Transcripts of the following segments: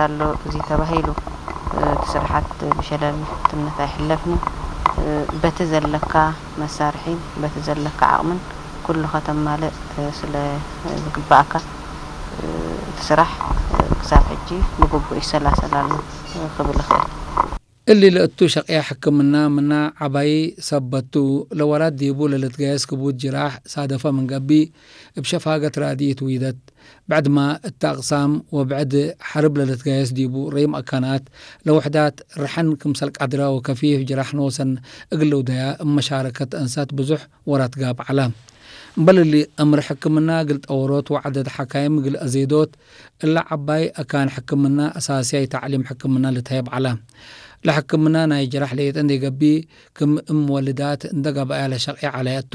ኣሎ እዚ ተባሂሉ እቲ ስርሓት ብሸለልትነት ኣይሕለፍን። በቲ ዘለካ መሳርሒ በቲ ዘለካ ዓቕምን ኩሉ ከተማልእ ስለ ዝግባኣካ እቲ ስራሕ ክሳብ ሕጂ ብግቡእ ይሰላሰል ኣሎ ክብል ይኽእል። እሊ ለእቱ ሸቅያ ሕክምና ምና ዓባይ ሰበቱ ለወራት ዲቡ ለልትጋየስ ክቡድ ጅራሕ ሳደፈ ምን ገቢ እብ ሸፋገት ራድኢት ዊደት። ብዕድማ እት አቅሳም ወብዕድ ሐርብ ለልትጋየስ ዲቡ ረይም አካናት ለውሕዳት ርሐን ክምሰል ቃድራ ወከፊፍ ጅራሕ ኖሰን እግል ልውደያ እብ መሻረከት አንሳት ብዙሕ ወራት ጋብ ዐላ። እምበል እሊ እምር ሕክምና እግል ጠወሮት ወዐደድ ሐካይም እግል አዜዶት እለ ዐባይ አካን ሕክምና አሳስያይ ተዕሊም ሕክምና ልትሀየብ ዐላ። ለሕክምና ናይ ጅራሕ ለየጠ እንዴ ገቢ ክም እም ወልዳት እንደ ገበያ ለሸቅያ ዐለያ እቱ።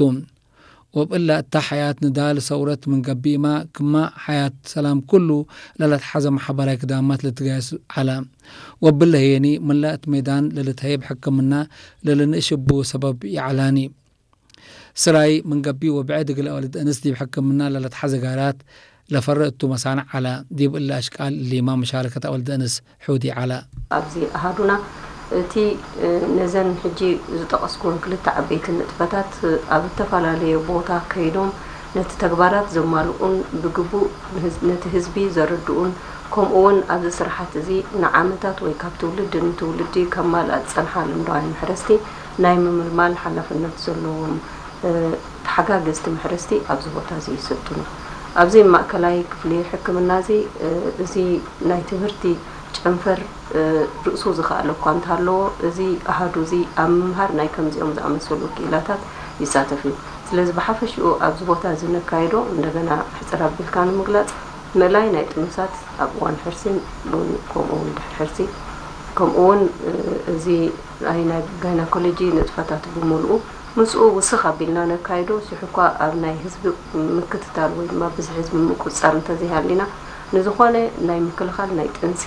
ወብእላ እታ ሐያት ንዳል ሰውረት ምን ገቢማ ክማ ሐያት ሰላም ኩሉ ለለትሐዘ መሐበራይ ክዳማት ልትጋየስ ዐላ። ወብለ ህየኒ ምላ እት ሜዳን ለልትሀይብ ሕክምና ለልንእሽቡ ሰበብ ይዐላኒ። ስራይ ምን ገቢ ወብዕድ እግል አወልድ እንስ ዲብ ሕክምና ለለትሐዘ ጋራት ለፈረ እቱ መሳንዕ ዐላ። ዲብ እለ አሽቃል እሊማ መሻረከት አወልድ እንስ ሑዲ ዐላ። ኣብዚ ኣሃዱና እቲ ነዘን ሕጂ ዝጠቐስኩወን ክልተ ዓበይቲ ንጥፈታት ኣብ እተፈላለየ ቦታ ከይዶም ነቲ ተግባራት ዘማልኡን ብግቡእ ነቲ ህዝቢ ዘረድኡን ከምኡ እውን ኣብዚ ስራሓት እዚ ንዓመታት ወይ ካብ ትውልዲ ንትውልዲ ከማልኣ ዝጸንሓ ልምዳውያን መሕረስቲ ናይ ምምልማል ሓላፍነት ዘለዎም ተሓጋገዝቲ መሕረስቲ ኣብዚ ቦታ እዚ ይስልጥኑ። ኣብዚ ማእከላይ ክፍሊ ሕክምና እዚ እዚ ናይ ትምህርቲ ጨንፈር ርእሱ ዝኸኣለ እኳ እንተሃለዎ፣ እዚ ኣሃዱ እዚ ኣብ ምምሃር ናይ ከምዚኦም ዝኣመሰሉ ክኢላታት ይሳተፍ እዩ። ስለዚ ብሓፈሽኡ ኣብዚ ቦታ እዚ ነካይዶ፣ እንደገና ሕጽር ኣቢልካ ንምግላጽ፣ ምእላይ ናይ ጥኑሳት ኣብ እዋን ሕርሲን ሎሚ ከምኡ እውን ድሕሪ ሕርሲ፣ ከምኡ እውን እዚ ናይ ናይ ጋይናኮሎጂ ንጥፈታት ብምልኡ ምስኡ ውስኽ ኣቢልና ነካይዶ፣ ስሕኳ ኣብ ናይ ህዝቢ ምክትታል ወይ ድማ ብዝሒ ህዝቢ ምቁፅፃር እንተዘይሃሊና፣ ንዝኾነ ናይ ምክልኻል ናይ ጥንሲ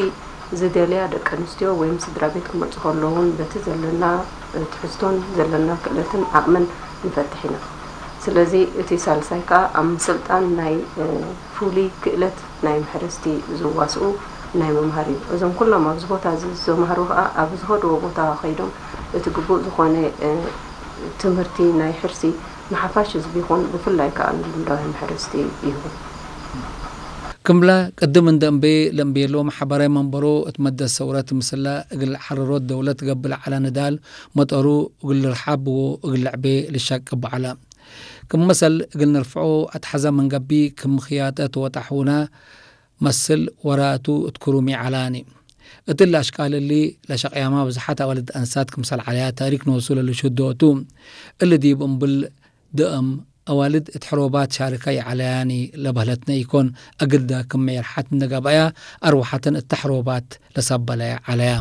ዝደልያ ደቂ ኣንስትዮ ወይም ስድራ ቤት ክመፁ ከለውን በቲ ዘለና ትሕዝቶን ዘለና ክእለትን ዓቕምን ንፈትሕ ኢና። ስለዚ እቲ ሳልሳይ ከዓ ኣብ ምስልጣን ናይ ፍሉይ ክእለት ናይ መሕረስቲ ዝዋስኡ ናይ ምምሃር እዩ። እዞም ኩሎም ኣብዚ ቦታ እዚ ዝተማህሩ ከዓ ኣብ ዝኸድዎ ቦታ ከይዶም እቲ ግቡእ ዝኾነ ትምህርቲ ናይ ሕርሲ ንሓፋሽ ህዝቢ ይኹን ብፍላይ ከዓ ንልምዳውያን መሕረስቲ ይህቡ። ክምላ ቅድም እንደ እምቤ ለእምቤሎ ማሕበራዊ መንበሮ እት መደስ ሰውረት ምስላ እግል ሓረሮት ደውለት ገብለ ዓላ ንዳል መጠሩ እግል ርሓብ ወእግል ልዕቤ ልሻቅብ ዓላ። ክም መሰል እግል ንርፍዖ አትሐዘ ምን ገቢ ክም ክያጠት ወጣሕውና መስል ወራቱ እት ክሩም ይዓላኒ። እትሊ አሽቃል እሊ ለሸቅያማ ብዝሓት አዋልድ አንሳት ክምሰል ዓለያ ታሪክ ኖሱ ለልሹዶ እቱ። እሊ ዲብ እምብል ድአም አዋልድ እት ሕሮባት ሻርከ ይዓለያኒ ለበህለትነ ኢኮን፣ አግልደ ክም ሜርሓት እንደ ገበያ አርወሓተን እተ ሕሮባት ለሰበለያ ዓለያ።